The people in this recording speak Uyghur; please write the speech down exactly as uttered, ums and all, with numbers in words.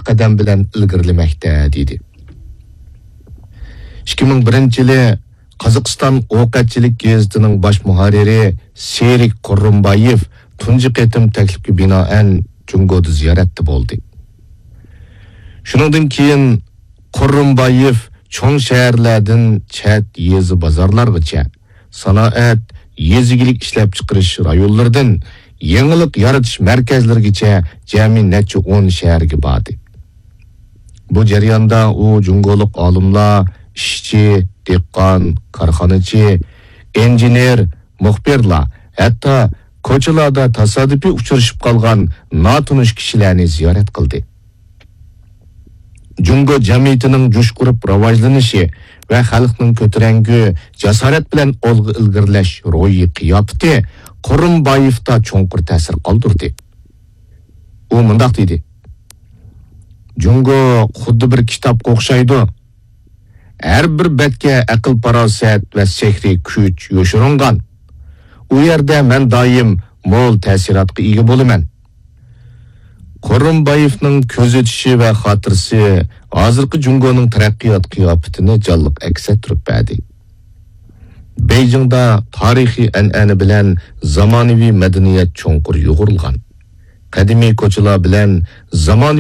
قەدەم بىلەن ئىلگىرىلىمەكتە، دېدى. ئىككى مىڭ بىرىنچى يىلى قازاقىستان ئوقەتچىلىك گېزىتىنىڭ باش مۇھەررىرى سېرىك قۇررۇمبايېف تۇنجى قېتىم تەكلىپكە بىنائەن جۇڭگودا زىيارەتتە بولدى. شۇنىڭدىن كېيىن قۇررۇمبايېف چوڭ شەھەرلەردىن چەت يېزا بازارلارغىچە، سانائەت، يېزا ئىگىلىك ئىشلەپچىقىرىش رايونلىرىدىن يېڭىلىق يارىتىش مەركەزلىرىگىچە جەمئىي نەچچە ئون شەھەرگە باردى. بۇ جەرياندا ئۇ جۇڭگولۇق ئالىملار، ئىشچى، دېھقان، كارخانىچى، ئىنژېنېر، مۇخبىرلار، ھەتتا كوچىلاردا تاسادىپىي ئۇچرىشىپ قالغان ناتونۇش كىشىلەرنى زىيارەت قىلدى. جۇڭگو جەمئىيىتىنىڭ جۇش ئۇرۇپ راۋاجلىنىشى ۋە خەلقنىڭ كۆتۈرەڭگۈ، جاسارەت بىلەن ئالغا ئىلگىرىلەش روھىي قىياپىتى قۇرۇمبايېۋتا چوڭقۇر تەسىر قالدۇردى. ئۇ مۇنداق دېدى: «جۇڭگو خۇددى بىر كىتابقا ئوخشايدۇ. ھەر بىر بەتكە ئەقىل-پاراسەت ۋە سېھرىي كۈچ يوشۇرۇنغان. ئۇ يەردە مەن دائىم مول تەسىراتقا ئىگە بولىمەن.» قۇرۇمبايېۋنىڭ كۆزىتىشى ۋە خاتىرىسى ھازىرقى جۇڭگونىڭ تەرەققىيات قىياپىتىنى جانلىق ئەكس ئەتتۈرۈپ بەردى. بېيجىڭدا تارىخىي ئەنئەنە بىلەن زامانىۋى مەدەنىيەت چوڭقۇر يۇغۇرۇلغان. قەدىمىي كوچىلار بىلەن زامانىۋى